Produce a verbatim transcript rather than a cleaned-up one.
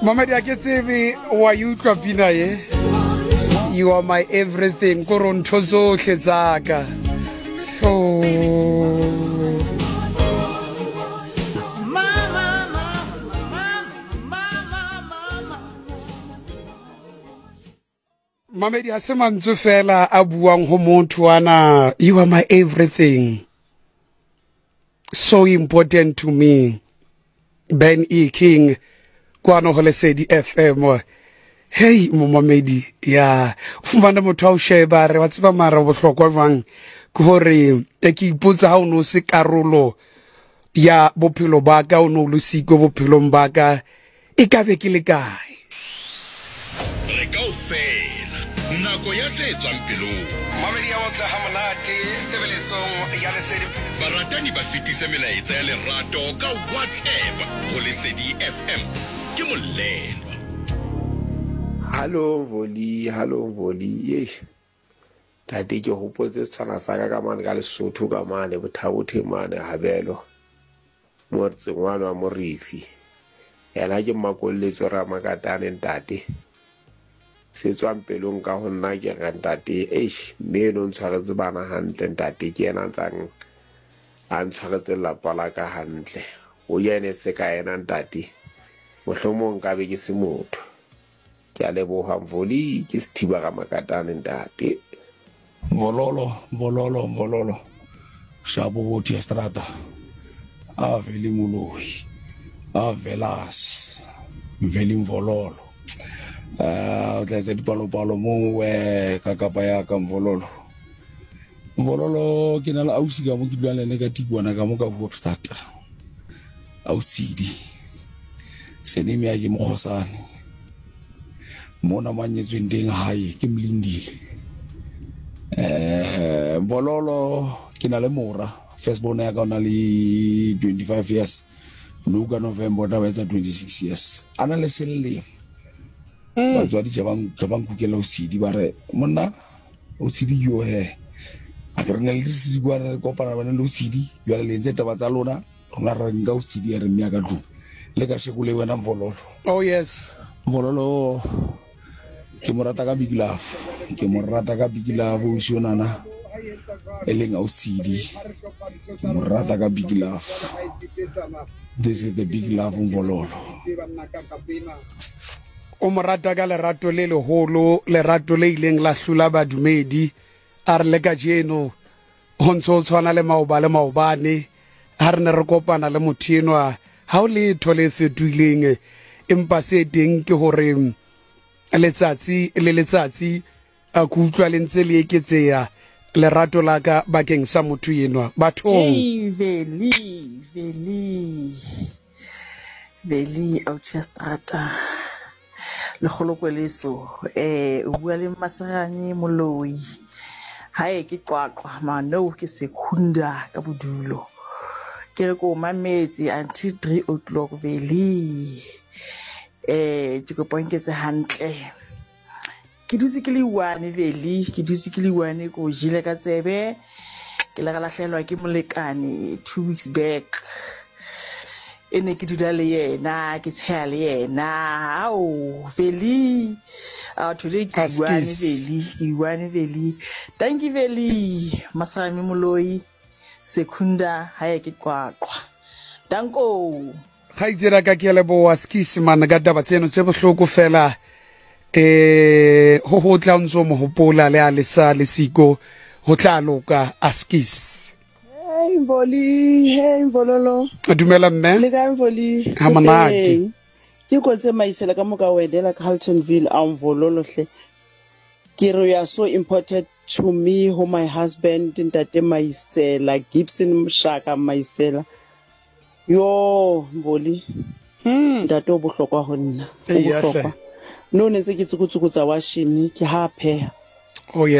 Mamedi, a ke tsebe wa e utlwa pina ye. You are my everything, kore ntho tsohle tsaka. Oh. Mamedi, ha se mantswe fela a buang ho motho ana. You are my everything, so important to me. Ben E King kwano ho Lesedi F M. Hey momamedi, ya fumana motho a o sheba re wa tseba mara bohlokwa jwang ke hore e ke ipotsa ha o no se karolo ya bophelo ba ka, o no le siko bophelong ba ka, e ka be ke le kae? Re kaofela nako ya se tswang pelong. Mamedi ya otla ha monate tshebeletsong ya Lesedi. Baratani ba fetise melaetsa ya lerato ka WhatsApp ho Lesedi F M. Ke molelwa. Hallo Voli, hallo Voli. Ye. Tate ke hopotse tshwana sa ka ka mane ka Lesotho ka mane Bothabothe mane Habelo. Motseng wa wa Morifi. Yena ke makolletso ra makatane ntate. Se tswang pelong ka ho nna ke re ntate, eish, mme eno ntshwaretse bana hantle ntate, ke yena ntsang a ntshwaretse lelapa la ka hantle. O yene se ka yena ntate, mohlomong nka be ke se motho. Ke a leboha Mvoli, ke Sethiba ka makatane ntate. Vololo, vololo, vololo. Shapo bothi estrata. A veli moloi. A velas. Veli mvololo. Ah, o tla etsa dipalopalo mo we ka kapa ya ka mvololo. Mvololo ke na le ausi ka mo ke dulang le ene ka Tikwana ka mo ka Hoopstad. Ausidi. Seneme ya ke mokgosane. Mona manyetsweng teng hae ke Mlindile. Eh, Mvololo ke na le mora. First born ya ka o na le twenty-five years. No ka November o tla ba etsa twenty-six years. A na le selemo. Batswadi tse bang tse bang kukela o sidi ba re monna o sidi yo he a ke re ne le se bua re kopana bana le o sidi jwale le ntse taba tsa lona rona re nka o sidi ya re mme ya ka tlung le ka sheko le wena Mvololo. Oh yes, Mvololo ke mo rata ka big love, ke mo rata ka big love o shonana e leng o sidi, ke mo rata ka big love. This is the big love Mvololo. O mo rata ka lerato le leholo, lerato le ileng la hlula badumedi. A re le kajeno ho ntso o tshwana le maoba le maobane ha re ne re kopana le motho enwa, ha o letho le fetohileng, empa se teng ke hore letsatsi le letsatsi a ke utlwa le ntse le eketseha lerato la ka bakeng sa motho enwa. Bathong. Hey, Veli, Veli, Veli, Auchestrata. Lekgolokweleso, eh, o bua le Maserane Moloi. Hae ke Qwaqwa, mano ke Sekhunda ka bodulo. Ke re ko mametse until three o'clock Veli. Eh, ke kopa nketse hantle. Ke dutse ke le one Veli, ke dutse ke le one ko jele ka tsebe. Ke la ka lahlelwa ke molekane two weeks back. E ne ke dula le yena, ke tsheya le yena. Ao, Veli. Ah, today ke one Veli, ke one Veli. Thank you Veli. Masami Moloi, Sekhunda hae ke Qwaqwa. Danko. Kgaitsedi ka ke leboha skisi man ka taba tseno tse bohloko fela. Eh, ho ho tla ntso mo hopola le a le sa le siko ho tla loka askis. Hey Mvoli, hey Mvololo. Dumela mme. Le kae Mvoli? Ha monate. Ke kotse maisela ka moka wedela Carltonville a Mvololo hle. Ke re you are so important to me, ho my husband ntate Maisela, Gibson Mshaka Maisela. Yo Mvoli. Hmm. Ntate o bohlokwa ho nna. O bohlokwa. No ne se ke tsukutsukutsa washini ke ha pheha. Oh yes.